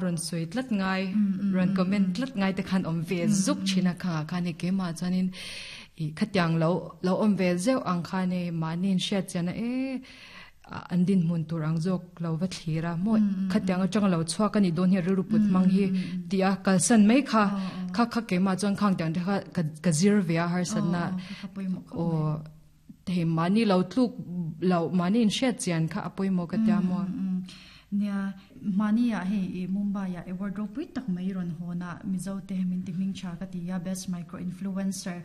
rawn sawi tlat ngai rawn comment tlat ngai te khan awm ve zuk thin a khangah khan hei keimah chuanin ih khatiang lo lo awm ve zeuh ang khan hei mahni inhriat chian a e an dinhmun tur ang zawk lo va thlir a maw khatiang atanga lo chhuak a nih dawn hi rilru put hmang hi tih a kalsan mai kha kha kha keimah chuan khang tiang te kha ka zir ve a harsatna aw Hei mahni lo tluk loh, mahni inhriat chian kha a pawimawh ka tia maw? Nia, mahni ah hei i Mumbai ah award ropui tak mai rawn hawn a, Mizo te min ti hming tha ka ti a, best micro influencer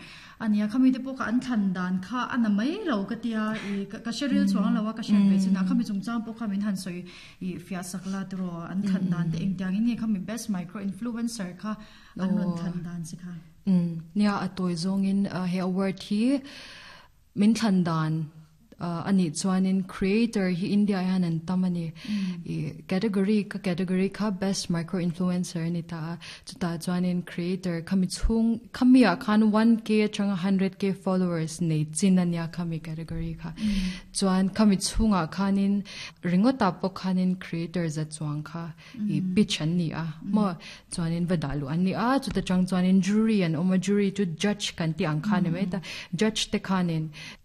a nia, khami te pawh kha an thlan dan kha a na mai lo ka tia, i ka hre ril chuang lo a, ka hriat ve chin a, khami chungchang pawh kha min han sawi i fiah sak la tiraw, an thlan dan te engtiangin nge khami best micro influencer kha an rawn thlan dan che kha? Nia, a tawi zawngin he award hi min thlan dan a nih chuanin creator hi India ah hian an tam a ni. I category ka category kha best micro influencer a ni ta a, chutah chuanin creator khami chhung khami ah khan 1k atanga 100k followers nei chin a nia khami category kha. Chuan khami chhungah khanin ringawtah pawh khanin creator za chuang kha i pitch an ni a maw chuanin va dah luh an ni a chuta tang chuanin jury an awm a jury chu judge kan tih ang kha ni mai ta judge te khanin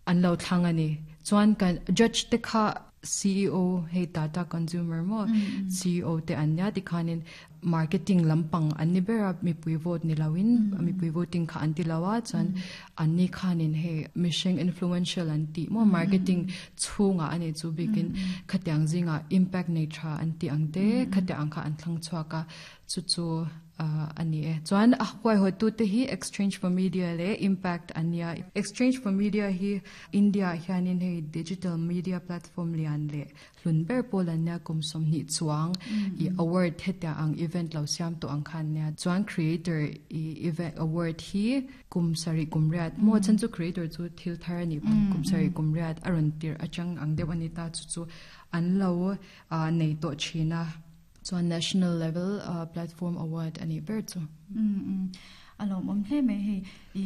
an lo thlang a ni chuan kan judge te kha CEO hei Tata consumer maw CEO te an nia tikhanin marketing lampang an ni ber a mipui vote ni loin mipui voting kha an ti lo a chuan Anni khanin hei mihring influential an tih maw marketing chhungah a nih chu bikin khatiang zingah impact nei tha an tih ang te khatiang ang kha an thlang chhuak a chu chu a ni e. Chuan a huaihawtute hi Exchange for Media leh Impact an nia. Exchange for Media hi India ah hianin hei digital media platform lian leh Hlun ber pawl an nia kum 20 chuang i award hetia ang event lo siam tawh ang kha an nia. Chuan creator i event award hi kum sarih kum riat maw chhan chu creator chu thil thar a nih vang kum sarih kum riat a rawn tirh atang ang deuh a ni ta chu chu an lo nei tawh thin a. Chuan national level platform award a nih ber chu. A lawmawm hle mai hei i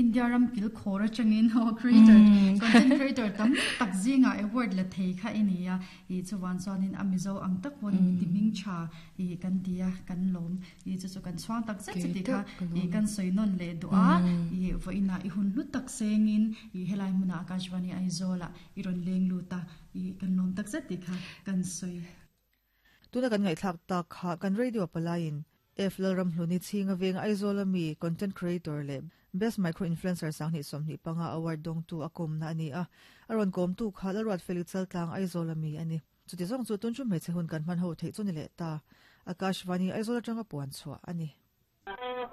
India ram kil khawr atangin aw creator content creator tam tak zingah award la thei kha i ni a i chuvan chuanin a Mizo ang tak pawhin min ti hming tha i kan ti a kan lawm i chu chu kan chhuang tak zet chuti kha i kan sawi nawn leh duh a i vawiinah i hun hlu tak sengin i helai hmunah Akashvani Aizawl ah i rawn leng lut a i kan lawm tak zet tih kha kan sawi. Tuna kan ngaihthlak tak kha kan radio palaiin F Lalramhluni chhinga veng Aizawl ami content creator leh Best Micro Influencer 2025 award dawngtu a kawmna a ni a, a rawn kawmtu kha Lalruatfeli Chaltlang Aizawl ami a ni. Chuti zawng chu tun chu hmeichhe hun kan hman ho theih chu ni leh ta. Akashvani Aizawl atanga puan chhuah a ni.